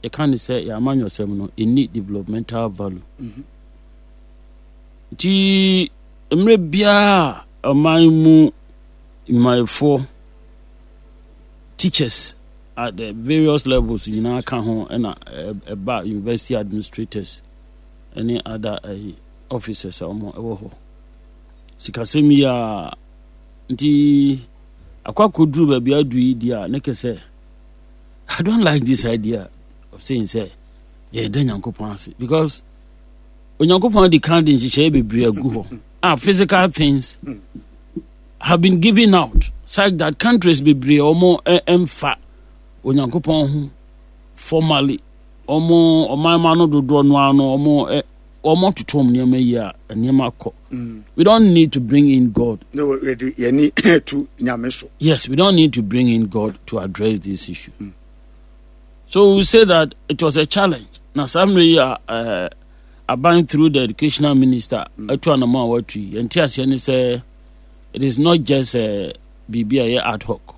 yɛka ne sɛ yɛn amanyɔsɛm no ɛnni developmental value. Nti mmerɛ biara a ɔman mu nnwumayɛfoɔ, teachers at the various levels nyinaa ka ho ɛna ɛba university administrators ɛne other ɛyi officers a wɔn ɛwɔ hɔ. Sikasɛm yi a nti akɔ akɔduru baabi adu yi di a ne kɛ sɛ I don't like this idea of saying sɛ yɛda Nyankopɔn ase because Onyankopɔn adi kan de nhyehyɛeɛ bebree agu hɔ a physical things have been given out such that countries bebree wɔn mfa Onyankopɔn ho formally wɔn ɔman ma no dodoɔ no ano wɔn wɔn atoto wɔn nneɛma yi a nneɛma kɔ. We don't need to bring in God. No, yɛni to nyame so. Yes, we don't need to bring in God to address this issue. So we say that it was a challenge. Na saa mmerɛ yi a eh, aban through the educational minister atu anamɔ a watu yi, yɛnte aseɛ ne sɛ it is not just eh, biribi a ɛyɛ ad hoc,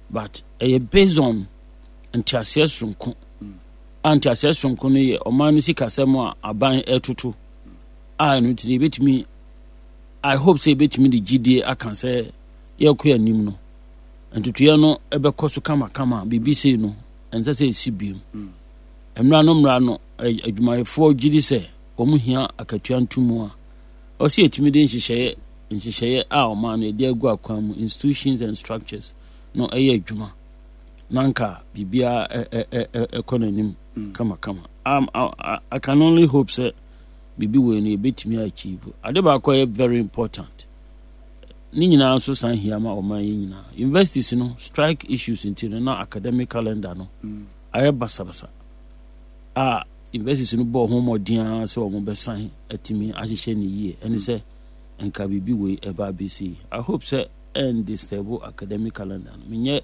but ɛyɛ based on nteaseɛ soronko. A nteaseɛ soronko no yɛ ɔman no sikasɛm a aban ɛtoto a ɛno nti no yɛbɛtumi I hope sɛ yɛbɛtumi de gyidie aka sɛ yɛrekɔ anim no ntotoeɛ no ɛbɛkɔ so kamakama biribi sei no ɛnsɛ sɛ ɛsi biom mmra no mmra no adwumayɛfoɔ gye di sɛ wɔn hia akatua ntomu a ɔsɛ yɛtumi de nhyehyɛeɛ nhyehyɛeɛ a ɔman no yɛde agu akwan mu institutions and structures no ɛyɛ adwuma na nka biribiara ɛkɔ n'anim kamakama um, I, I can only hope sɛ biribi wei no yɛbɛtumi achieve ade baako a ɛyɛ very important ne nyinaa nso san hia ma ɔman yi nyinaa universities no strike issues nti no na academic calendar no ayɛ basabasa a universities no bɔɔ ho mmɔden ara sɛ wɔn bɛsan atumi ahyehyɛ ne yie ɛne sɛ nka biribi wei ɛba abɛsi. I hope sɛ ɛn disturb academic calendar no. Menyɛ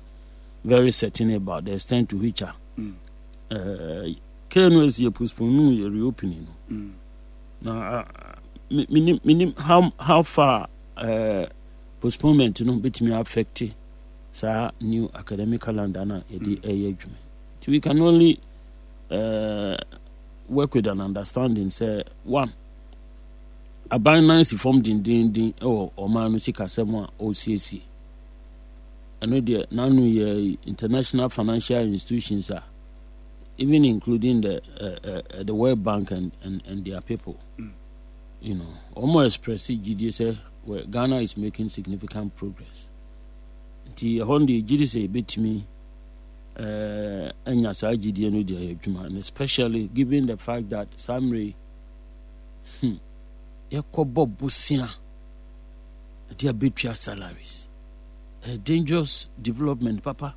very certain about the extent to which a mm. uh, KNUST yɛ postpone no yɛ reopening no. Mm. Na uh, menim menim how far postponement no betumi affect saa new academic calendar na yɛde mm. ɛyɛ adwuma. Nti we can only work with an understanding sɛ one aban nan si fam dendenden wɔ ɔman no sikasɛm a ɔresiesie. Ɛno deɛ n'ano yɛ international financial institutions a even including the the World Bank and their people. You know, wɔn express gyidie sɛ well, Ghana is making significant progress. Nti ɛhɔ no deɛ gyidi sɛ yɛbɛtumi anya saa gyidie no deɛ adwuma and especially given the fact that saa mmerɛ yi yɛkɔbɔ bosea ɛde abɛtua salaries a dangerous development papa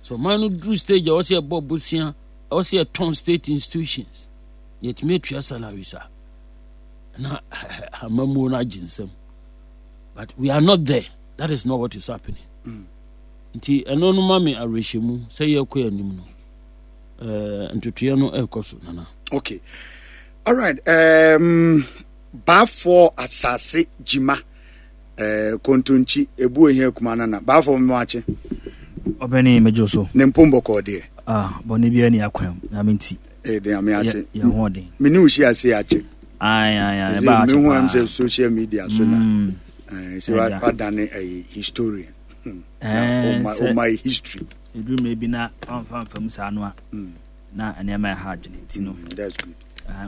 so ɔman no duru stage a ɛwɔ sɛ yɛbɔ bosea ɛwɔ sɛ yɛtɔn state institutions na yɛtumi atua salaries a na amammuo no agye nsam but we are not there that is not what is happening nti ɛno no ma me awerɛhyɛmu sɛ yɛkɔ anim no ntotoeɛ no ɛrekɔ so nana. Okay alright baafoɔ asase gyima kontonkyi ebu ohia kuma nana baafoɔ mmoakye. Ɔbɛne mɛgye so. Ne mpom bɔkɔɔ deɛ. Ah, bɔne biara ni akwan mu nyame nti. Eh, de nyame ase. Yɛn ho ɔden. Me ne wo hyia ase akye. Ayi ayi ayi ɛba akye paa. Mehu am sɛ social media so na. Sɛ wadane ɛyɛ historian. Na ɔma history. Ɛduru mmerɛ bi na wamfa mfa mu saa no a na nneɛma ɛha adwene nti no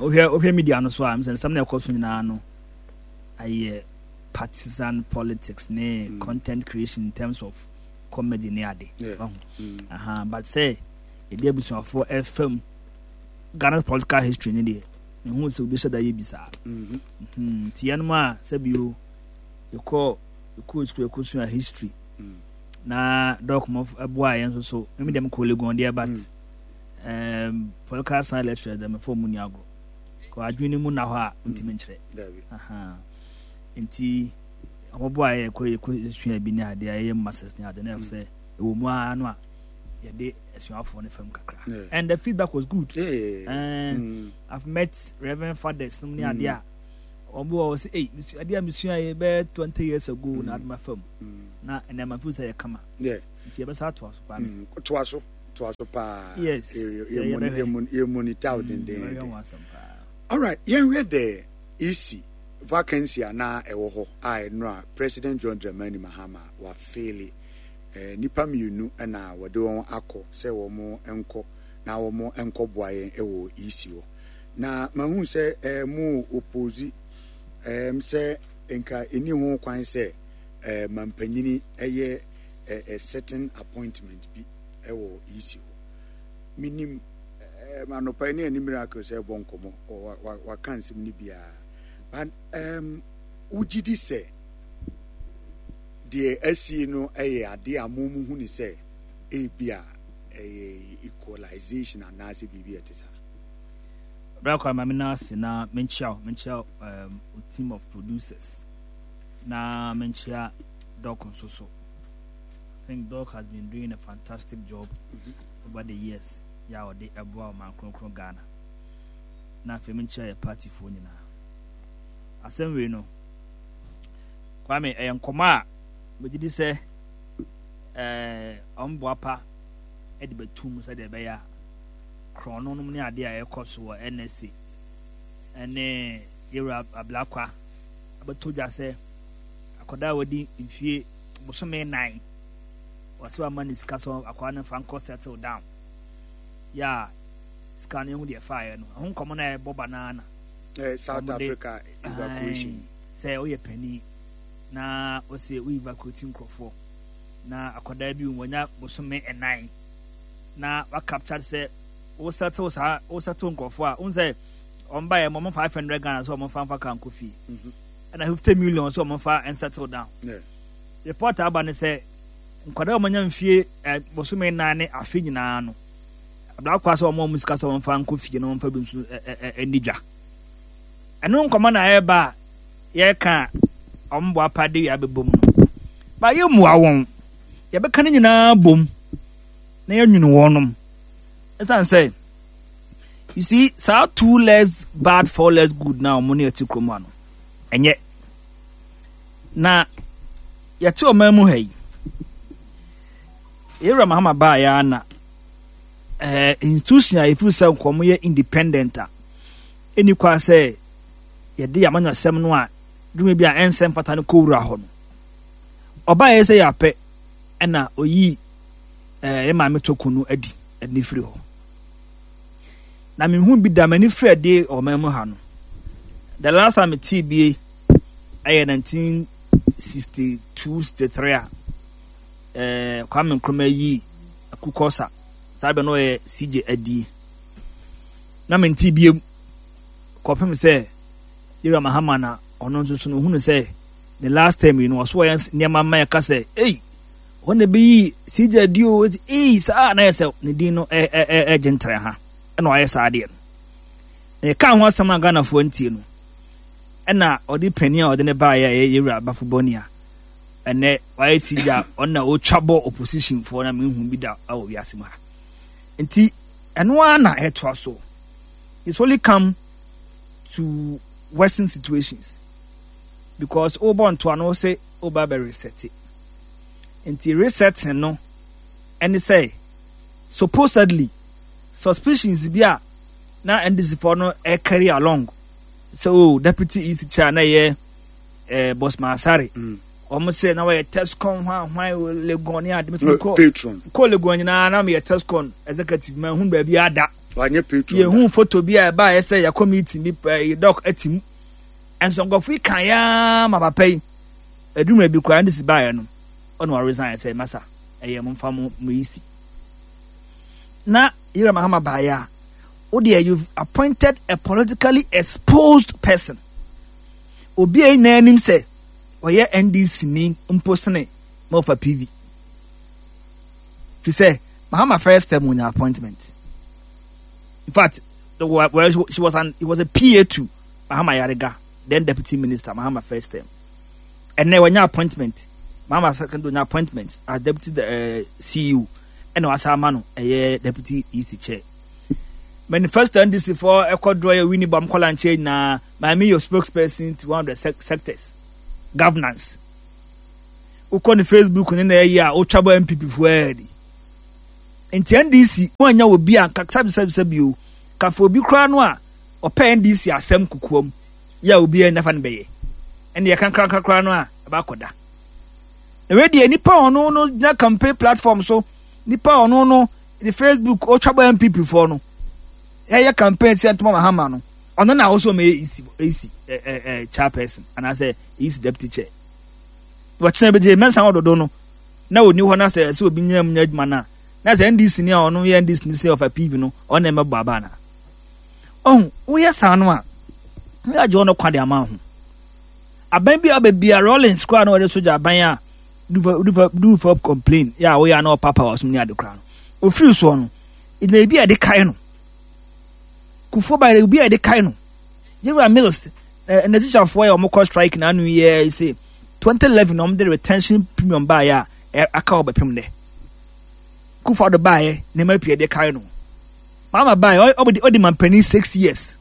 wohwɛ wohwɛ media no so a sɛ nsɛm na ɛkɔ so nyinaa no ayɛ partisan politics ne content creation in terms of comedy ne ade aha but sɛ yɛde abusuafoɔ ɛfam Ghana political history ne deɛ mehu sɛ obi hyɛ da yɛ bi saa nti yɛnom a sɛbio yɛkɔ yɛkɔ sukuu yɛkɔsua history na dɔk mo boa yɛn nso so mimi deɛ mekɔ Legon deɛ but political science lecturer deɛ mefɔ mu ni agorɔ kɔ adwene no mu na hɔ a ntumi nkyerɛ nti wɔn boa yɛ kɔ yɛkɔ sua bi ne adeɛ a yɛyɛ masters ne adeɛ na yɛ sɛ ɛwɔ mu ara no a yɛde asuafoɔ no fam kakra and the feedback was good. Yeah, yeah, yeah. I've met Reverend fathers nom ne adeɛ a wɔn wɔ sɛ ei adeɛ a mesua yɛ bɛyɛ 20 years ago na adoma fam na ɛnɛ ma feel sɛ yɛ kama nti yɛbɛsa atoa so paa. Toa so. toa so paa. Yes. Yɛ monitor wo dendeenden. Alright, yɛnhwɛ the EC vacancy a na ɛwɔ hɔ a ɛno a President John Dramani Mahama wafeele. Eh, nnipa mmienu na wɔde wɔn akɔ sɛ wɔn nkɔ na wɔn nkɔboa yɛn wɔ EC hɔ. Na mahu sɛ eh, mo oppose eh, sɛ nka ɛni ho kwan sɛ eh, mampanyini ɛyɛ eh, a certain appointment bi wɔ EC hɔ. Menim eh, anɔpa yi ne ɛne Miracle sɛ ɛbɔ nkɔmmɔ, waka nsɛm no biara. But um, wogye di sɛ deɛ asie no yɛ adeɛ a mo mu hu ne sɛ ebi a ɛyɛ equalization anaasɛ biribi a ɛte saa? Bra kwa ma me na ase na menkyia wo, menkyia um, team of producers na menkyia Doc nso so. I think Doc has been doing a fantastic job mm -hmm. over the years. Ya ɔde ɛboa ɔman kronkron Ghana. Na afei menkyia yɛ partyfoɔ nyinaa. Asɛm wei no, Kwame, ɛyɛ nkɔmɔ a megye di sɛ ɛɛ ɔmboa pa de bɛtum sɛdeɛ ɛbɛyɛ a korɔno nom ne adeɛ a ɛkɔ so wɔ NSA ɛne yɛwura Ablakwa abɛtɔ dwa sɛ akwadaa a wadi mfie bosome nan wɔsɛ wama ne sika sɛ akwadaa no mfa nkɔ settle down yɛ a sika no ehu deɛ faeɛ no ɛho nkɔmɔ no a ɛbɔ ba naa na eh, South Africa evacuation sɛ woyɛ panin na wɔsɛ wo evacuate nkurɔfoɔ na akwadaa bi wɔnya bosome nnan na wa capture sɛ wo settle saa wo settle nkurɔfoɔ a wohu sɛ wɔn ba yɛ mo wɔn 500 Ghana sɛ wɔn fa nfa kaa nkɔ fie ɛna 50 million sɛ wɔn fa settle down report aba ne sɛ nkwadaa a wɔanya mfie ɛ bosome nan ne afe nyinaa no ablakwa sɛ wɔn a wɔn sika sɛ wɔn fa nkɔ fie na wɔn fa bi nso ɛ ɛ ɛni dwa ɛno nkɔmɔ na ɛreba a yɛreka a wɔn bɔ apa de wia bɛbɔ mu no ba yɛ mua wɔn yɛbɛka ne nyinaa bom na yɛnwene wɔnom ɛsiane sɛ you see saa two legs bad four legs good na wɔn ne ɛte kurom ano ɛnyɛ na yɛte ɔman mu ha yi yɛwura Mahama baa yɛ ana ɛɛ institution a yɛfiri sɛ nkɔm yɛ independent a ɛni kwa sɛ yɛde amanyɔsɛm no a dwuma bi a ɛnsɛ mfata no kɔwura hɔ no ɔbaa yɛ sɛ yɛapɛ ɛna oyii ɛɛ yɛ maame toko no adi ɛde ne firi hɔ na mehu bi da m'ani firi adi ɔman mu ha no the last time metee bie ɛyɛ 1962 63 a ɛɛ Kwame Nkrumah yi akukɔsa saa bɛ no ɔyɛ CJ adie na mente biem kɔpem sɛ Yɛwura Mahama na ɔno nso so no ohunu sɛ ne last term yi no ɔso ɔyɛ nneɛma ma ɛka sɛ ei wɔn na ebeyi CJ adi o eti ei saa na yɛ sɛ ne din no ɛ ɛ ɛ ɛgye ntere ha ɛna ɔayɛ saa adeɛ no na yɛka ho asɛm a Ghanafoɔ ntie no ɛna ɔde panin a ɔde ne baeɛ a ɛyɛ Yɛwura Bafo Bɔni a ɛnɛ wayɛ CJ a ɔno na ɔtwa bɔ opposition foɔ na mehu bi da wɔ wiase mu ha nti ɛno ara na ɛtoa so it's only come to worsen situations because wobɔ ntoa no sɛ woba bɛ reset nti resetting no ɛne sɛ supposedly suspicions bi a na NDC foɔ no carry along sɛ oh deputy EC chair na ɛyɛ eh, Bosman Asare wɔn sɛ na wɔyɛ tescon hwan hwan Legon ne ade mɛtumi kɔ patron kɔ Legon nyinaa na meyɛ tescon executive ma ehun baabi ada wanyɛ patron yɛhu photo bi a ɛbaa yɛ sɛ yɛkɔ meeting bi pɛɛ dɔk ɛte mu ɛnso nkurɔfo yi kan yaa ma papa yi adumere bi koraa ndc baeɛ no ɔna ɔresign sɛ masa ɛyɛ mo nfa mo mo yi si na Yira Mahama baeɛ a wo deɛ you've appointed a politically exposed person obi a nyinaa anim sɛ ɔyɛ NDC ni mpo sene ma ɔfa PV fi sɛ Mahama first term wonya appointment in fact the, well, she was an, he was a PA to Mahama Ayariga then deputy minister Mahama first term and then wɔnya appointment Mahama second wonya appointment as deputy uh, CEO ɛna wasa ama no ɛyɛ deputy EC chair manifesto NDC foɔ ɛkɔdorɔ yɛ winnie bam kɔla nkyɛn nyinaa maame yɛ spokesperson to one of the sectors governance wokɔ ne facebook ne na ɛyɛ a wotwa bɔ npp foɔ ɛɛdi. Nti NDC mo anya obi a nka sɛbisɛbisɛbi o, kafa obi koraa no a ɔpɛ NDC asɛm kokoam yɛ a obiara nnafa no bɛyɛ. Ɛne yɛka krakra koraa no a ɛba akɔda. Na wei deɛ nipa a ɔno no gyina campaign platform so, nipa a ɔno no ne Facebook ɔtwa bɔ NPP foɔ no, ɛyɛ campaign sɛ ntoma Mahama no, ɔno na ɔsɛ ɔmɛyɛ EC, EC ɛ ɛ ɛ chairperson anaasɛ EC deputy chair. Wɔkyerɛ bi gye mɛnsa ɔdodo no na ɔni hɔ na sɛ ɛsɛ obi nyina mu nyɛ adwuma no a, na sɛ NDC ni a ɔno yɛ NDC ni sɛ ɔfa PV no, ɔno na ɛmɛbɔ aba anaa? Ɔho, woyɛ saa no a, woyɛ agye ɔno kwa de ama ho. Aban bi a ɔbɛ bia Rawlings koraa na ɔde sogya aban a do do for complain yɛ a woyɛ a na ɔpapa ɔsom ne ade koraa no. Ofiri soɔ no, na ebi a yɛde kae no. Kufuor ba ebi a yɛde kae no. Yɛwura Mills, na tikyafoɔ yɛ wɔn kɔ strike na ano yɛ sɛ 2011 na wɔn de retention premium baeɛ a aka wɔ bɛpem dɛ. Kufuor do baeɛ nneɛma pii yɛde kae no. Mama baeɛ ɔde ɔde mampanin 6 years,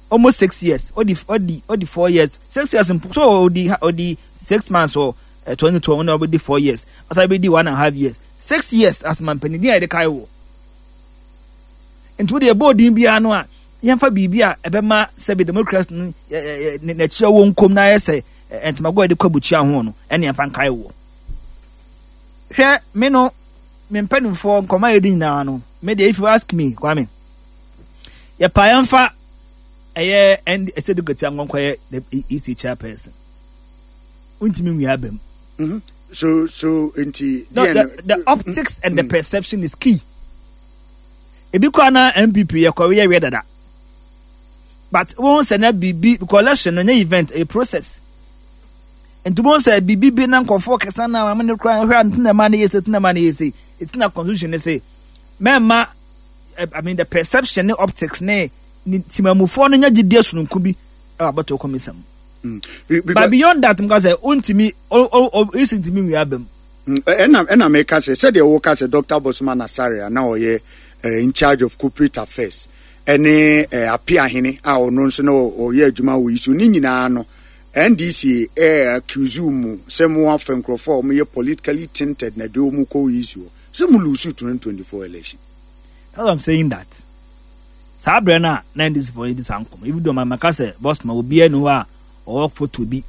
almost 6 years, ɔdi ɔdi ɔdi 4 years, 6 years mpo so, ɔdi ɔdi 6 months wɔ 2012 na ɔbɛdi 4 years, ɔsan bɛdi 1.5 years, 6 years as mampanin din a yɛde kae wɔ. Nti wode ɛbɔ odin biara no a, yɛmfa biribi a ɛbɛma sɛbi democracy no n'akyi wɔ nkom na ayɛ sɛ ntomago a yɛde kɔ abukyia ho no, ɛne yɛmfa nkae wɔ. Hwɛ, me no me mpanimfoɔ nkɔmɔ a yɛdi nyinaa no, me deɛ, if you ask me, Kwame, yɛpa yɛmfa ɛyɛ ɛn ɛsɛ dukati ankɔnkɔ yɛ the EC chairperson, wontumi nwia aba mu. So nti no, the optics and the perception is key. Ebi koraa na NPP yɛ kɔwe yɛ wiɛ dada, but wɔn sɛ na biribi because election no nyɛ event, a process. Nti wɔn sɛ biribi bi na nkɔfoɔ kɛse na maame no koraa hwɛ a ntina ma no yɛ sɛ ntina ma no yɛ sɛ eti na constitution ne sɛ mɛma, I mean, the perception ne optics ne ne timamufoɔ no nya gyidie sononko bi ɛwɔ abɔtɔ kɔmisa mu. But beyond that, nka sɛ ontumi o o o esi ntumi nwia aba mu. Ɛna meka sɛ sɛdeɛ woka sɛ Dr. Bosman Asare a na ɔyɛ in charge of corporate affairs ɛne Apiahene a ɔno nso na ɔyɛ adwuma wɔ yi so ne nyinaa no, NDC accuse mu sɛ mo afa nkurɔfoɔ a wɔyɛ politically tinted na de wɔn kɔ yi so sɛ mo lose 2024 election. That's why I'm saying that. Saa berɛ no a na NDC foɔ no di saa nkɔmmɔ, even though maka sɛ Bosman obiara ni hɔ a ɔwɔ photo bi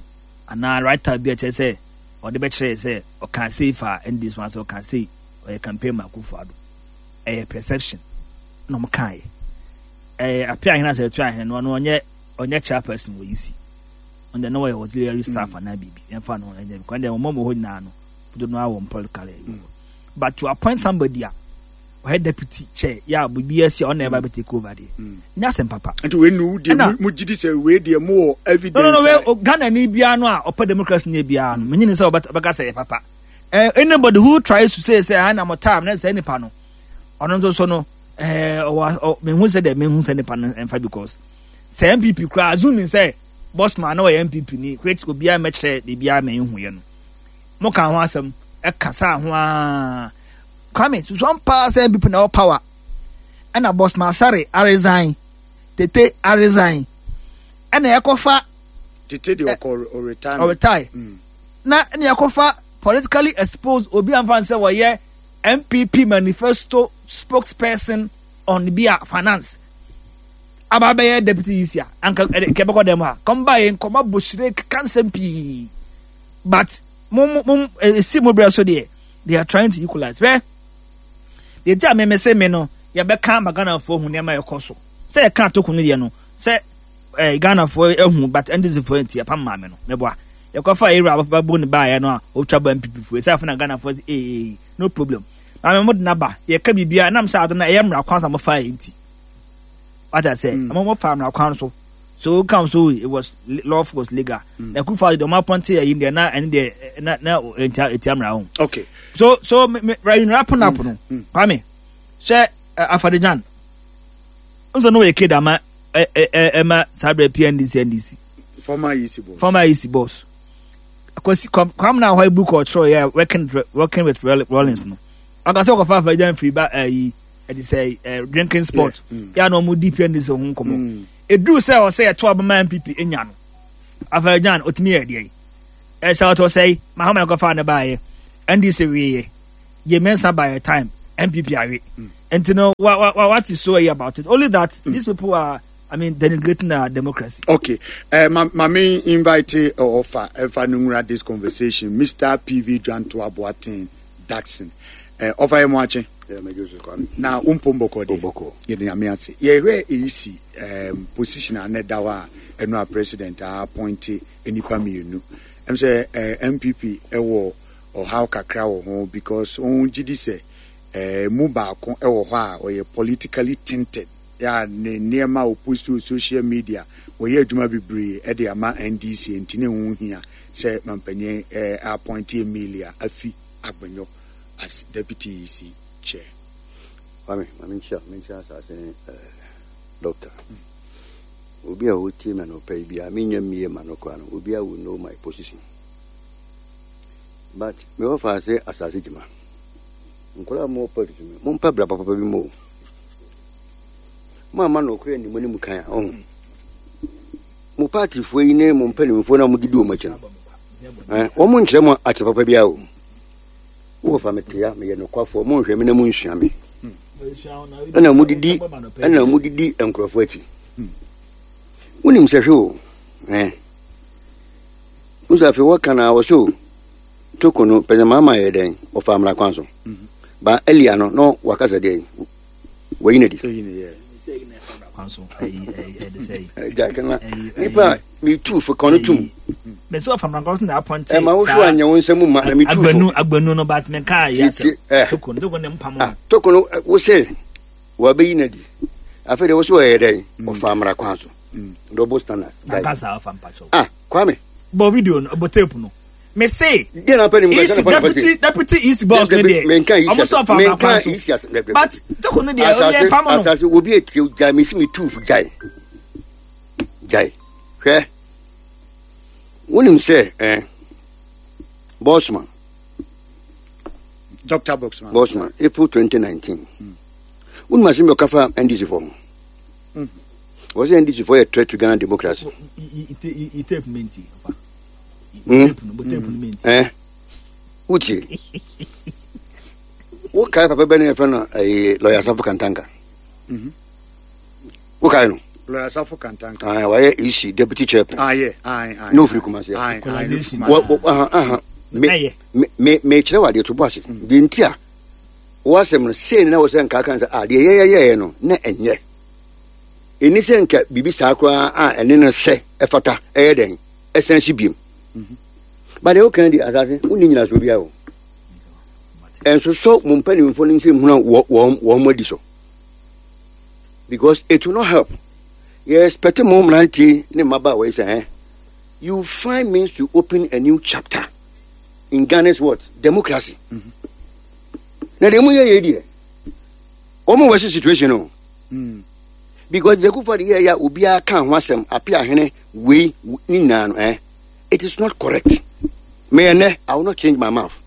anaa writer bi a kyerɛ sɛ ɔde bɛkyerɛ sɛ ɔka sei fa NDC ho asɛ ɔka sei ɔyɛ campaign ma Akufo-Addo. Ɛyɛ perception na ɔmo kaeɛ. Ɛyɛ Apia Ahene asɛ ɛto ahene no, ɔno ɔnyɛ chairperson wɔ EC. Ɔno deɛ na ɔyɛ auxiliary staff anaa biribi. Yɛmfa no ɛnyɛ because deɛ ɔmo wɔ hɔ nyinaa no dodo no awɔ political ɛyi. But to appoint somebody a ɔyɛ deputy chair yɛ a biribi asi a ɔna ɛba bɛ take over deɛ, nyɛ asɛm papa. Nti wei nu deɛ mo gyi di sɛ wei deɛ mo wɔ evidence? No, no, no, wei Ghana ni biara no a ɔpɛ democracy ni biara no, menye ne sɛ ɔbɛka sɛ yɛ papa. Anybody who tries to say sɛ ɛna mo time na sɛ nipa no ɔno nso so no, ɔwɔ mehu sɛ deɛ mehu sɛ nipa no ɛnfa because sɛ NPP koraa, assuming sɛ Bosman na ɔyɛ NPP ni, which obiara mɛkyerɛ biribiara ma ehu yɛ no, mo ka ho asɛm ɛka saa ho aa. Kwame susuan paa sɛ NPP na ɛwɔ power ɛna Bosman Asare aresign, Tete aresign, ɛna ɛkɔfa Tete deɛ ɔkɔ ɔretire. Ɔretire na ɛna ɛkɔfa politically exposed obi anfa sɛ wɔyɛ NPP manifesto spokesperson on bi a finance aba bɛyɛ deputy EC a anka kɛbɛkɔ dɛm a kɔmba yɛ nkɔmɔ abɔhyire keka nsɛm pii, but mo mo mo esi mo brɛ so deɛ, they are trying to equalize. Hwɛ deɛ ti a mɛmɛ sɛ me no yɛbɛka ma Ghanafoɔ hu nneɛma ɛkɔ so sɛ yɛka atoko no deɛ no sɛ Ghanafoɔ ehu, but NDC foɔ nti yɛpam maame no mɛboa yɛkɔfa ewura abɛbɔ ne baayɛ no a otwa bɔ NPP foɔ sɛ afei na Ghanafoɔ sɛ no problem, maame mo de naba yɛka biribiara nam sɛ ade no ɛyɛ mmara kwan so na mo fa yɛ nti wata sɛ mo fa mmara kwan so, so come so it was lawful, was legal. Na Kufa de ɔmo apɔnte ɛyi deɛ na ɛne deɛ na etia mmara ho. So me me right wrapping up no, Kwame, sɛ Afari-Gyan nso no yɛ kid ama ɛ ɛ ɛma saa bɛrɛ PNDC NDC. Former EC boss. Former EC boss. Kwasi Kwame na ahɔ book ɔtwerɛ yɛ working with Rawlings no. Ɔka sɛ ɔkɔfa Afari-Gyan firi ba ɛyi ɛde sɛ drinking spot. Yɛ a na ɔmo di PNDC ho nkɔmɔ. Eduru sɛ ɔsɛ yɛto abama NPP enya no. Afari-Gyan otumi yɛ deɛ. Ɛsɛ ɔtɔ sɛe Mahama ɛkɔfa ne baayɛ. NDC wieɛ. Yɛ Mensa by time. NPP awe. Nti no wa wa what is so about it? Only that these people are, I mean, denigrating our democracy. Okay. Ma, ma me invite Ofa Efa Nungura this conversation. Mr. PV Janto Aboatin Daxon. Ofa Emwache. Yeah, me Joseph Kwame. Na umpom bɔkɔ de. Bɔkɔ. Yɛde nyame ase. Yɛhwɛ EC position a na ɛda hɔ a ɛno a president a appoint nnipa mmienu. Ɛm sɛ NPP ɛwɔ ɔhaw kakra wɔ ho because wɔn gye di sɛ mu baako ɛwɔ hɔ a ɔyɛ politically tinted. Yɛ a ne nneɛma a ɔpost wɔ social media wɔyɛ adwuma bebree ɛde ama NDC, nti ne ho hia sɛ mampanyin appoint Emilia Afi Agbenyo as deputy EC chair. Kwame, ma menkyia, menkyia asase ne doctor. Obi a ɔtie me anɔpa yi biara, menyɛ mmie ma no koraa no, obiara will know my position. But me wɔ fa ase asase gyima. Nkwadaa a mowɔ politics mu, mompɛ bra papa bi mu o. Mo amma nɔkorɛ nni mo anim kan a, ɔho. Mo partyfoɔ yi ne mo mpanimfoɔ no a modidi wɔn akyi no, wɔn nkyerɛ mo ate papa biara o. Wowɔ fa me tea, meyɛ nokwafoɔ, monhwɛ me na monsua me. Ɛna modidi nkurɔfoɔ akyi. Wonim sɛ hwɛ o, Wosi afei wɔka na wɔ so toko no pɛsɛ maama yɛ dɛn wɔfa mmara kwan so. Ba earlier no na wakasa deɛ wɔyi no di. Nipa metu fo ka no tum. Mesi ɔfa mmara kwan so na apɔnte. Ɛma wohwɛ anyɛ wo nsɛm ma na metu fo. Agbanu agbanu no but me ka yɛ asɛm. Toko no toko ne mpam no. Toko no wo se wɔabɛyi no adi. Afei deɛ wo se wɔyɛ dɛn ɔfa mmara kwan so. Double standard. Nankasa ɔfa mpakyɛw. Ah Kwame. Bɔ video no bɔ tape no. Me se. Deɛ na pɛ ne mu kasa na deputy deputy east boss ne deɛ. Menka east. Ɔmo sɔ fa mmara kwan so. But toko no deɛ ɔyɛ pam no. Asase obi etie gyae me si me tu fo gyae. Gyae. Hwɛ. Wonim sɛ eh Bossman. Dr. Bossman. Bossman April 2019. Wonim asɛm bi ɔka fa NDC fo ho. Wọ́n sɛ NDC fo yɛ threat to Ghana democracy. Eh, wotie. Wokae papa bɛ ne yɛfrɛ no ɛyɛ lɔya Asafo Kantanka. Wokae no? Lɔya Asafo Kantanka. Ah, wayɛ EC deputy chairman. Ah, yeah. Aye, aye. Na ofiri Kumasi. Aye, aye. Me me me kyerɛ wɔ adeɛ to bɔ ase. Deɛ nti a wɔasɛm no sei na wɔ sɛ nka kan sɛ ah deɛ yɛyɛyɛɛ no na ɛnyɛ. Ɛni sɛ nka biribi saa koraa a ɛne no sɛ ɛfata ɛyɛ dɛn ɛsan si biem. Ba deɛ woka di asase wonni nyinasoɔ biara o. Ɛnsosɔ mo mpanimfoɔ no nsɛm hunu a wɔn wɔn adi so. Because it will not help. Yɛ expect mo mmeranteɛ ne mmabaawa yi sɛ eh, you find means to open a new chapter in Ghana's what? Democracy. Na deɛ mo yɛ yɛ deɛ wɔn wɔ si situation o. Because the Kufuor yɛ ya obiara ka ho asɛm ape ahene wei ne nyinaa no eh it is not correct. Me ɛnɛ I will not change my mouth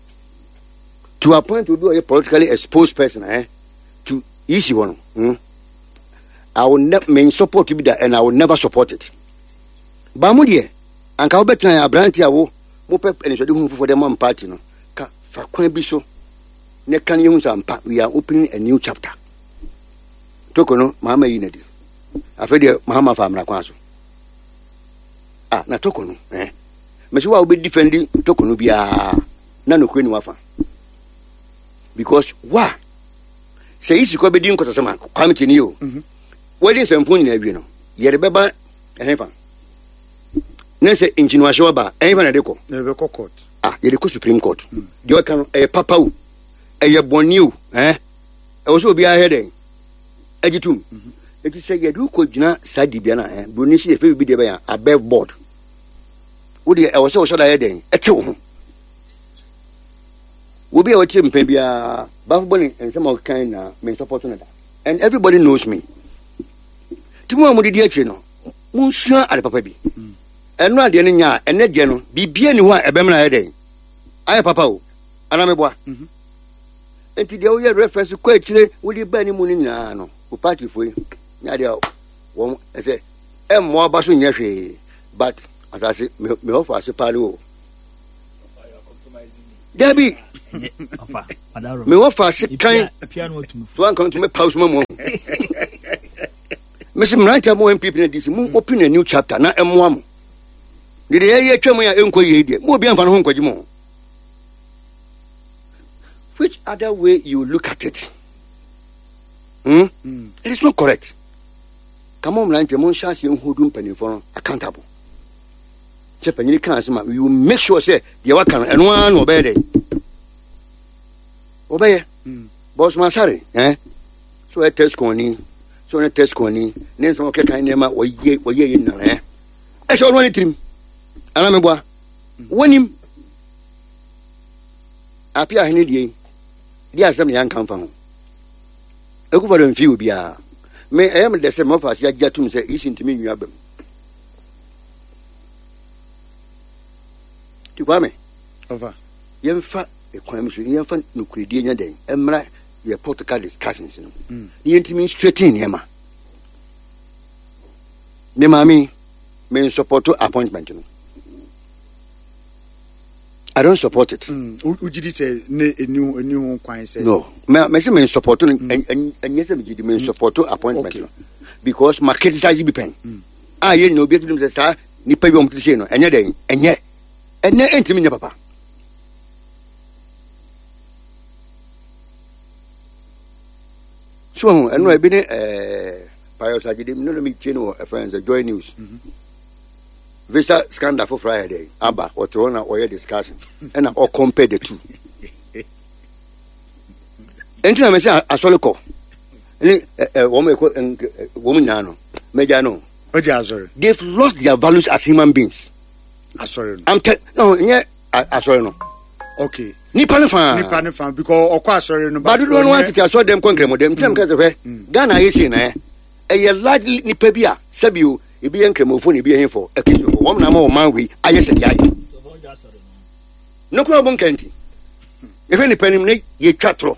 to appoint obi a ɔyɛ politically exposed person eh to isi hɔ no. I will never me support bi da and I will never support it. Ba mo deɛ anka wobɛtena yɛ aberante a wo mopɛ anisoade hunu foforɔ de ma party no ka fa kwan bi so ne ka ne yɛhu sɛ ampa we are opening a new chapter. Toko no Mahama yi na di. Afei deɛ Mahama fa amena kwan so. Ah, na Toko no eh. Mesi wa wobɛ defend Toko no biara na nokure ni wafa. Because wa sɛ isi kɔ bɛdi nkɔsasɛm a Kwame tie ni o. Wɔde nsɛmfo nyinaa wie no yɛde bɛba ɛhefa na sɛ nkyiniwahyɛ aba ɛhefa na yɛde kɔ? Yɛbɛkɔ court. Ah, yɛde kɔ Supreme Court. Deɛ ɔka no ɛyɛ papa o, ɛyɛ bɔne o, eh? Ɛwɔ sɛ obiara hwɛ dɛn agye tom. Eti sɛ yɛde wokɔ gyina saa dibea no a, eh, buroni sɛ yɛfɛ biribi deɛ bɛyɛ above board. Wo deɛ ɛwɔ sɛ wɔhyɛ da yɛ dɛn ɛte wo ho. Obi a ɔte mpɛn biara bafo bɔ ne nsɛm a ɔkeka nyinaa me nsɔpɔto no da. And everybody knows me. Ti mu a mo didi akyire no, monsua ade papa bi. Ɛno adeɛ no nya a, ɛnɛ deɛ no, biribiara ni hɔ a ɛbɛmena ayɛ dɛn? Ayɛ papa o. Anaa meboa? Nti deɛ woyɛ reference kɔ akyire wode ba ne mu no nyinaa no, wo partyfoɔ yi, nyɛ adeɛ a wɔn ɛsɛ ɛmmoa ba so nyɛ hwee. But asase, me hɔ fa ase paa o. Dabi! Me wɔfa ase kan so anka ntumi paw so ma mu ahu. Mesi mmeranteɛ mo NPP na DC mo open a new chapter na ɛmmoa mo. De deɛ yɛyɛ atwa mu a ɛnkɔ yie deɛ mo obi amfa no ho nkɔgye mo. Which other way you look at it? Hmm? Mm. It is not correct. Come on, mmeranteɛ mo nhyɛ aseɛ nhodu mpanimfoɔ no accountable. Sɛ panyin ka asɛm a, you make sure sɛ deɛ waka no ɛno ara na ɔbɛyɛ dɛ. Ɔbɛyɛ. Mm. Bɔsoma asare, eh? So ɔyɛ tɛsikɔni, so ɔyɛ tɛsikɔni, ne nsɛm ɔkeka nneɛma ɔyɛ ɔyɛ yɛ nyinaa eh? Ɛhyɛ ɔno ne tirim. Ana meboa? Wɔnim. Ape ahene deɛ yi, deɛ asɛm na yɛanka mfa ho. Akufo do mfii obiara. Me ɛyɛ me dɛ sɛ mɔfa ase agye atum sɛ isi ntumi nwi aba mu. Ti Kwame, yɛmfa kwan mu so yɛmfa nokorɛdie nyɛ dɛn mmra yɛ political discussions no mm. na yɛntumi straighten nneɛma. Me maame me nsupporto appointment no. I don't support it. Mm. Wogye di sɛ ne ɛni ho ɛni ho kwan sɛ. No, me me sɛ me support no ɛnyɛ sɛ me gye di me support appointment no because ma criticize bi pɛn. A yɛ nyina obi atutum sɛ saa nipa bi a wɔn ti sei no ɛnyɛ dɛn ɛnyɛ ɛnɛ ɛntumi nyɛ papa. So ho ɛno ebi ne ɛɛ Pius Agyedim no na mi tie no wɔ ɛfɛn sɛ Joy News. Mm -hmm. Visa scandal foforɔ ayɛ dɛ aba ɔte hɔ na ɔyɛ discussion ɛna ɔ compare the two nti na mɛ sɛ asɔre kɔ ne ɛ ɛ wɔn ɛkɔ wɔn nyinaa no mɛgya no. Ɔgya asɔre. They've lost their values as human beings. Asɔre no. I'm tell no nyɛ asɔre no. Okay. Nipa ne fa. Nipa ne fa because ɔkɔ asɔre no. Ba dodoɔ no atete asɔre dɛm kɔ nkrɛmɔdɛm nti na mɛ kɛ sɛ hwɛ Ghana ayɛ sei na ɛ ɛyɛ largely nipa bi a sɛbi o ebi yɛ nkramofo na ebi yɛ hefo akristofo wɔn na ama ɔman wei ayɛ sɛ deɛ ayɛ no kora ɔbɔ nka nti yɛhwɛ nipa nim ne yɛtwa torɔ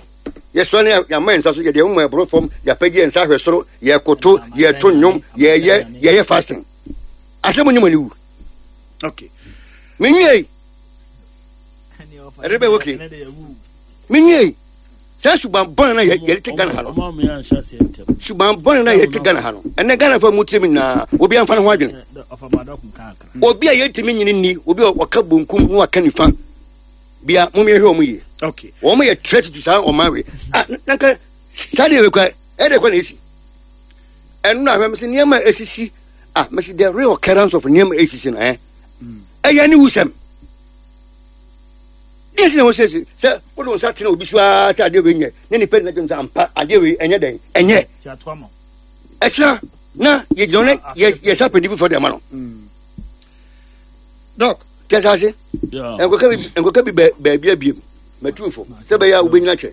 yɛsɔ ne yɛama yɛn nsa so yɛde yɛn ɛboro fam yɛapagye yɛn nsa ahwɛ soro yɛkoto yɛto nnwom yɛyɛ yɛyɛ fasting asɛm nyɛ mo ani wu okay menwie ɛde bɛ okay menwie Saa suban bɔne na yɛde te Ghana ha no. Suban bɔne na yɛde te Ghana ha no. Ɛnɛ Ghana fa mu tirim nyinaa, obi amfa ne ho adwene. Obi a yɛntumi nyini nni, obi a ɔka bonkum na waka nifa. Bia mom yɛhwɛ wɔn yie. Okay. Wɔn yɛ threat to saa ɔman wei. Ah, nanka saa deɛ wekura, ɛde kɔ na esi. Ɛno na ahwɛ mesi nneɛma a esisi, ah, mesi the real occurrence of nneɛma esisi no, eh. Ɛyɛ ne wusɛm. Deɛ nti na wɔsiesie sɛ wode wo nsa tena obi so ara sɛ adeɛ wei nyɛ na nipa nyina gyem sɛ ampa adeɛ wei ɛnyɛ dɛn ɛnyɛ ɛkyena na yɛgyina ne yɛsa pɛdi foforɔ de ama no dɔk kyɛ ase nkɔka bi baabi abiem matu fo sɛ bɛyɛ a wobɛnyina kyɛ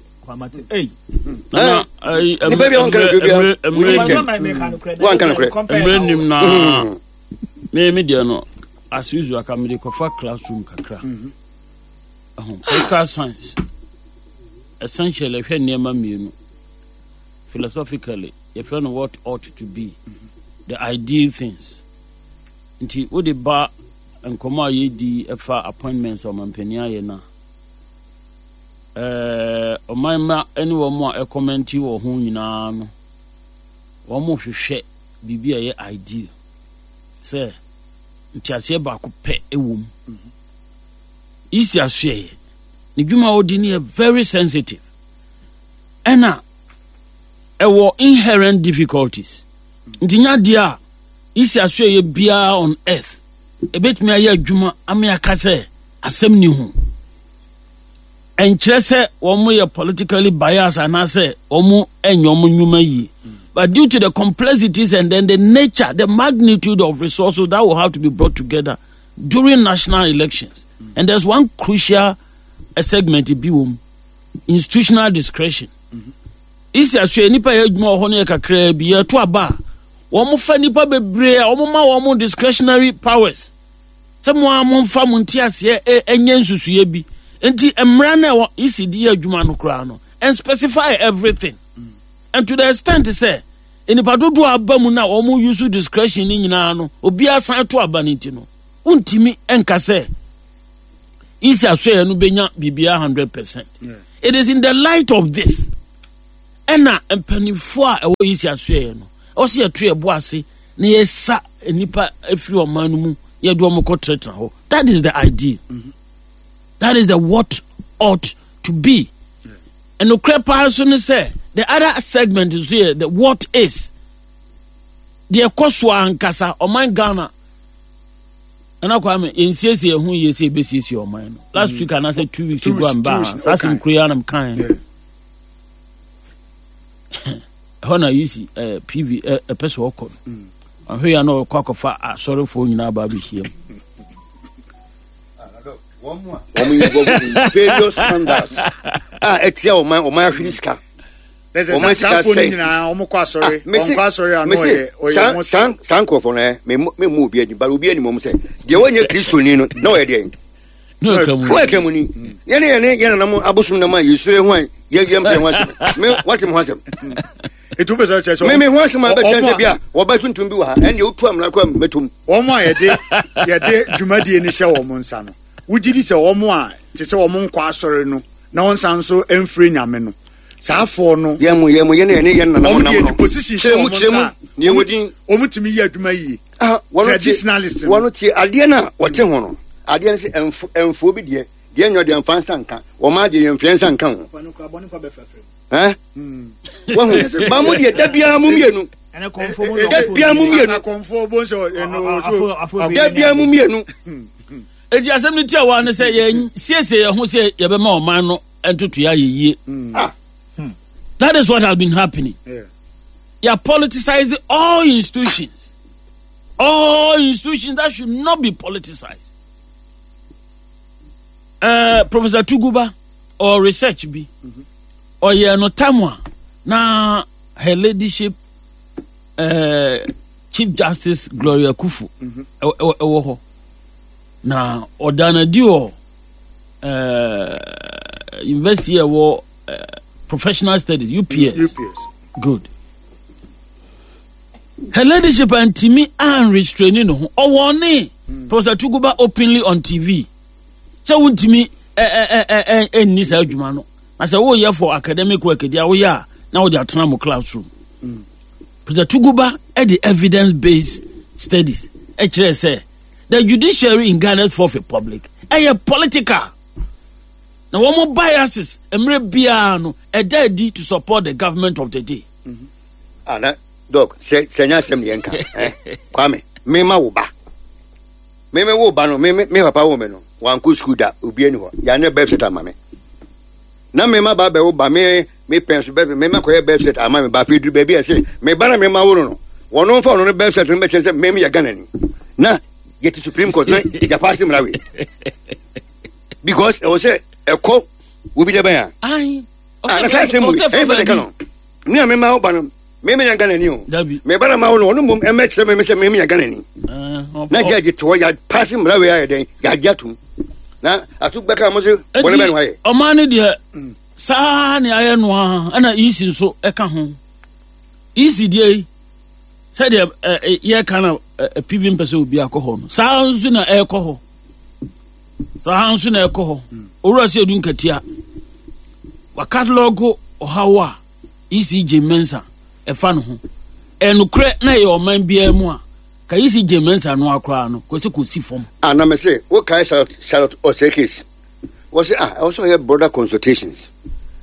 nipa bi a wɔnka nokorɛ biara wonyini kyɛ wɔnka nokorɛ mmerɛ nim na me me deɛ no as usual aka mede kɔfa classroom kakra mm -hmm. political science essentially ɛhwɛ nneɛma mmienu philosophically yɛfrɛ no what ought to be mm -hmm. the ideal things nti wode ba nkɔmmɔ a yɛdi ɛfa appointments ɔmampanin ayɛ no a ɔman mma ne wɔn a ɛkɔmɛnti wɔ ho nyinaa no wɔn hwehwɛ biribi a ɛyɛ ideal sɛ nteaseɛ baako pɛ wɔ mu. Isi asoɛeɛ ne dwuma a ɔdi no yɛ very sensitive ɛna ɛwɔ inherent difficulties nti nya adeɛ a isi asoɛeɛ biara on earth ɛbɛtumi ayɛ adwuma ama aka sɛ asɛm ni ho ɛnkyerɛ sɛ wɔn yɛ politically biased anaasɛ wɔn nyɛ wɔn nnwuma yie but due to the complexities and then the nature the magnitude of resources that will have to be brought together during national elections and there's one crucial eh, segment bi wɔ mu institutional discretion isi asoɛ nipa yɛ adwuma wɔ hɔ no yɛ kakraa bi yɛto aba a wɔn fa nipa bebree a wɔn ma wɔn discretionary powers. Sɛ mo ara momfa mo nteaseɛ nyɛ nsusuiɛ bi. Nti mmara no a ɛwɔ EC de yɛ adwuma no koraa no, and specify everything. And to the extent sɛ nnipa dodoɔ a aba mu no a wɔn use discretion no nyinaa no, obiara san to aba no nti no, wontumi nka sɛ Isi asoɛeɛ no bɛnya biribiara 100%. It is in the light of this ɛna mpanimfoɔ a ɛwɔ isi asoɛeɛ no ɛwɔ sɛ yɛto yɛbo ase na yɛsa nnipa afiri ɔman no mu yɛde wɔn kɔ tenatena hɔ. That is the idea. Mm -hmm. That is the what ought to be. Ɛnokorɛ paa nso ne sɛ the other segment nso yɛ the what is. Deɛ ɛkɔ so ankasa ɔman Ghana Nana Kwame yɛnsiesie yɛn ho yie sɛ yɛbɛsiesie ɔman no. Last week anaasɛ 2 weeks ago a mbaa ha saa asɛm koro yi ara na mekaeɛ. Ɛhɔ na yisi eh, PV ɛpɛ sɛ ɔkɔ no. Ɔhwɛ yɛ na ɔkɔ akɔfa asɔrefoɔ nyinaa ba abɛhyia mu. Wɔn involve in various scandals a ɛtia ɔman ɔman ahwere sika. Wɔn sika sɛ nyinaa wɔn kɔ asɔre wɔn kɔ asɔre ano ɔyɛ ɔyɛ mo saa saa nkurɔfoɔ no ɛ mɛ mɛ mu obi ani bari obi anim wɔn sɛ deɛ wɔnyɛ kristoni no na ɔyɛ deɛ wɔyɛ kramoni yɛne yɛne yɛn nanam abosom nam a yɛsuro ho a yɛ yɛn mpɛ ho asɛm me wate me ho asɛm etu bɛ sɛ kyerɛ me me ho asɛm a bɛkyerɛ sɛ bi a wɔba tuntum bi wɔ ha ɛndeɛ wotu amena kora mɛtom wɔn a yɛde yɛde dwumadie no hyɛ wɔn nsa no wogye di sɛ wɔn a te sɛ wɔn nkɔ asɔre no na wɔn nsa nso mfiri nyame no saa afoɔ no yɛn mo yɛn mo yɛn yɛn yɛn nana mo nam no position hyɛ wɔn nsa nea wɔ din wɔn tumi yɛ adwuma yie ah, traditionalist no wɔn tie adeɛ no a wɔte ho no adeɛ no sɛ ɛnfo ɛnfo bi deɛ deɛ nyɛ deɛ nfa nsa nka wɔn agye yɛn mfeɛ nsa nka ho ɛn wɔn ba mo deɛ da biara mo mmienu da biara mo mmienu da biara mo mmienu. Eti asɛm no tiawa ne sɛ yɛn siesie yɛn ho sɛ yɛbɛma ɔman no ntotoeɛ ayɛ yie. Ah. That is what has been happening. Yeah. You are politicizing all institutions. All institutions that should not be politicized. Professor Tuguba or research bi ɔyɛ no tam a na her ladyship Chief Justice Gloria Kufu ɛwɔ hɔ na ɔda no adi wɔ university ɛwɔ professional studies UPS. UPS. Good. Her ladyship antimi anrestraini ne ho ɔwɔ ne Professor Tuguba openly on TV sɛ wontumi ɛnni saa adwuma no na sɛ woyɛ for academic work deɛ woyɛ a na wode atena mo classroom. Professor Tuguba de evidence based studies ɛkyerɛ sɛ the judiciary in Ghana's fourth republic ɛyɛ political na wɔn biases mmerɛ biara no ɛda adi to support the government of the day. Ah, na dɔk sɛ sɛ nyɛ asɛm deɛ nka eh, Kwame mema wo ba meme wo ba no me me papa wo me no wankɔ sukuu da obi ani hɔ yɛanyɛ birth cert ama me na mema ba bɛwo ba me me pɛn so bɛfɛ mema kɔyɛ birth cert ama me ba afei duru baabi a ɛsɛ me ba na mema wo no no wɔn mfa ɔno no birth cert no bɛkyerɛ sɛ meme yɛ Ghana ni na yɛte supreme court na yɛpaase mmara wei because ɛwɔ sɛ ɛkɔ obi dɛ bɛn a ah, na saa asɛm wei ɛyɛ fɛ ka no me a mema wo ba no meme yɛ Ghana ni o me ba na ma wo no ɔno mmom ɛmɛkyerɛ me sɛ meme yɛ Ghana ni na judge toɔ yɛpaase mmara wei ayɛ dɛn yɛagye atom na ato bɛka mo se bɔne bɛn no ayɛ ɔman no deɛ saa ne ayɛ no a ɛna ec nso ɛka ho ec deɛ yi sɛdeɛ yɛka no pv mpɛ sɛ obi akɔ hɔ no saa nso na ɛrekɔ hɔ saa nso na ɛkɔ hɔ owura sɛ edu nkatia wakatalɔgo ɔhaw a ecg mmensa ɛfa no ho ɛnokorɛ na ɛyɛ ɔman biara mu a ka ecg mmensa no akoraa no kɔsɛ kɔsi fam. Ana mese wokae Charlotte Charlotte Osei case Wɔse ah ɛwɔ sɛ ɔyɛ broader consultations.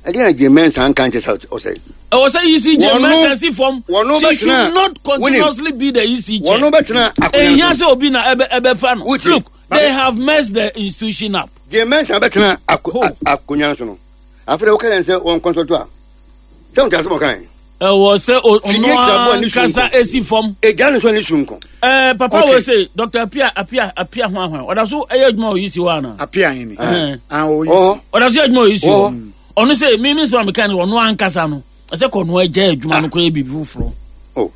Ɛdeɛ na Jane Mensah nka nkyɛ sɛ ɔsɛ. Ɛwɔ sɛ EC Jane Mensah si fam. She should not continuously be the EC chair. Wɔn bɛtena akonnwa so. Ehia sɛ obi na ɛbɛ ɛbɛfa no. Look, they have messed the institution up. Jane Mensah bɛtena akonnwa so no. Afei de wɔka yɛn sɛ wɔn consult a. Sɛ wɔn ti asɛm ɔka yɛn. Ɛwɔ sɛ ɔno ankasa esi fam. Egya ne so ne sunko. Ɛɛ papa wo se Dr. Apia Apia Apia ho ahwan ɔda so ɛyɛ adwuma wɔ UC hɔ ana. Apia hene. Ah wɔ UC. Ɔda so yɛ adwuma wɔ UC hɔ. Ɔno se mi mi nsɛm a meka no ɔno ankasa no ɛsɛ kɔ ɔno agya adwuma no kɔ yɛ biribi foforɔ. Oh.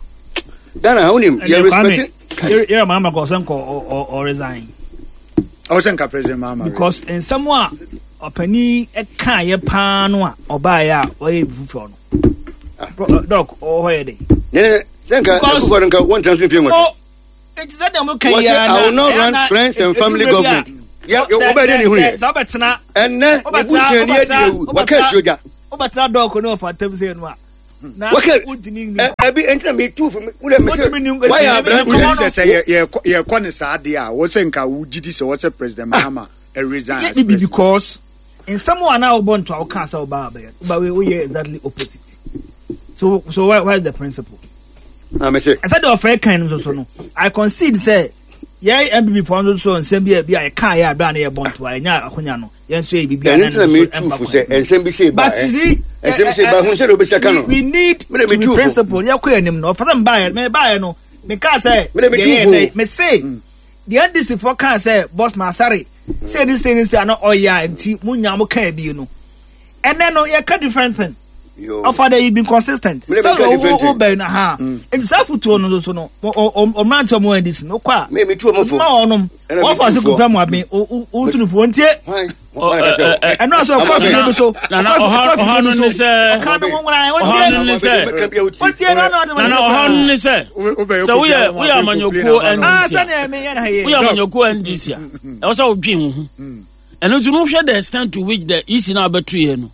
Ghana ha wonim yɛ respect. Yɛrɛ maa ma kɔ ɔsɛ nkɔ ɔ resign. Ɔsɛ nka president Mahama. Because nsɛm a ɔpanin kaeɛ paa no a ɔbaeɛ a ɔyɛ biribi foforɔ no. Dɔk ɔwɔ hɔ yɛ de. Sɛ nka akufo no nka wɔn tena so mfie nwɔtwe. Nti sɛ deɛ mo ka yi ara na I will not run friends and family government. Yɛ wobɛyɛ dɛ ne hunu yɛ. Sɛ wobɛtena. Ɛnɛ ne busuani adi awu waka asuo gya. Wobɛtena dɔɔko ne ɔfa ntam sɛ no a. Na wontumi nni. Ɛbi nti na metu fo wodɛ mese wayɛ aberanteɛ. Sɛ sɛ yɛkɔ ne saa deɛ a wɔsɛ nka wogye di sɛ wɔsɛ President Mahama resign as president. Because nsɛm a na wobɔ nto a wokaa sɛ wobaa bɛyɛ woba wei woyɛ exactly opposite. So where is the principle? Na mese. Ɛsɛ deɛ ɔfɛ kan no nso so no I concede sɛ yɛn NPP foɔ nso so nsɛm bi a bi a yɛkaa yɛ abira ne yɛ bɔ ntoa yɛnya akonya no yɛn nso yɛ biribi a na ne nso ɛmfa kwan nsɛm bi sɛ ba but you see nsɛm bi sɛ ba hun sɛ de obɛsi aka no we need to be principled yɛkɔ yɛn anim no ɔfɛ sɛ mbaayɛ mɛ baayɛ no mekaa sɛ yɛyɛ dɛ me se deɛ NDC foɔ kaa sɛ boss masare sɛ ne sɛ ne sɛ ano ɔyɛ a nti mo nya mo kaa bi no ɛnɛ no yɛka different thing ɔfa dɛ you been consistent sɛ wo bɛn no ha nti saa fotuo no nso no ɔmmerante ɔmo ndc no kɔ a ma ɔnom wɔfa so kuta mu aben wotu no fo ntie ɛno asɛ ɔkɔ afidie bi so ɔkɔ afidie bi so ɔka no nwona wɔntie wɔntie no no nana ɔha no ne sɛ sɛ woyɛ woyɛ amanyɔkuo ndc a woyɛ amanyɔkuo ndc a ɛwɔ sɛ wodwen wo ho ɛno nti no wohwɛ the extent to which the ec no abɛto yɛ no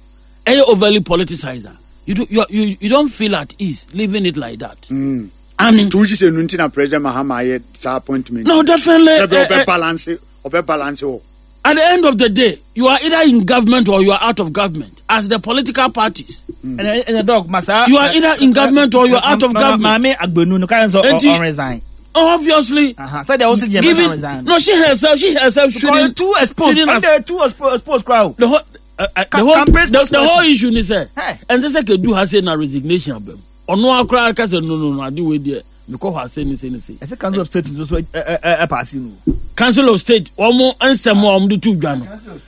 ɛyɛ overly politicized a you, do, you, you, you don't feel at ease leaving it like that. Mm. Ani. Nti wogye sɛ nu nti na President Mahama ayɛ saa appointment. No, definitely. Sɛ ɔbɛ balance ɔbɛ balance wɔ. At the end of the day, you are either in government or you are out of government as the political parties. Mm. And the dog, masa. You are either in government or you are out of government. Maame Agbenu no kan so on resign. Obviously. Uh-huh. So they also giving, resign. No, she herself shouldn't. Too exposed. Shouldn't and too exposed crowd. The whole, the whole issue ni sɛ ɛnsɛ sɛ kedu ha sɛ na resignation abam ɔno akora aka sɛ no no no ade wei deɛ mekɔ hɔ ase ne se ne se. Ɛsɛ council of state nso so ɛ paase no. Council of state wɔn nsɛm a wɔn de to dwa no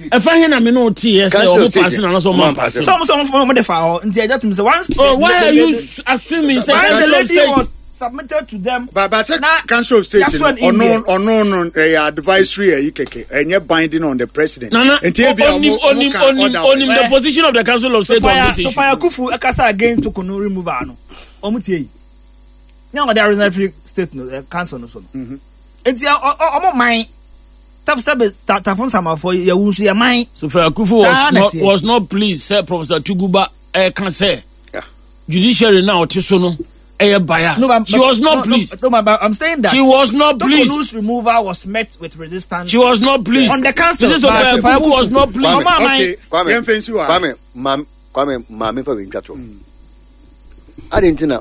ɛfa he na me ne o te yɛ sɛ wɔn paase na anasɛ wɔn ampaase. Sɛ wɔn sɛ wɔn de fa hɔ nti ɛgya tum sɛ once. Oh, why are you assuming sɛ council of state. Was submitted to them. But sɛ council of state no ɔno ɔno no ɛyɛ advisory ɛyi kɛkɛ ɛnyɛ binding on the president. Nana nti ebi a onim onim onim onim the position of the council of state on this issue. Sophia Kufu ɛkasa against Tokunu removal no ɔmo tie yi ní àwọn ọdẹ arizona free state no eh, council no so no nti ɔmo man taf sɛbi tafo nsamafo yɛwu nso yɛ man. Sophia Kufu was not pleased sɛ Professor Tuguba ɛka sɛ judiciary na ɔte so no ɛyɛ biased. No, but, she was not pleased. No, but I'm saying that she was not pleased. Tokonu's removal was met with resistance. She was not pleased. On the council. Mrs. Sophia Kufu was not pleased. Kwame, okay. Kwame, Kwame, Kwame, Maame fa wei ntwa to. Adi nti na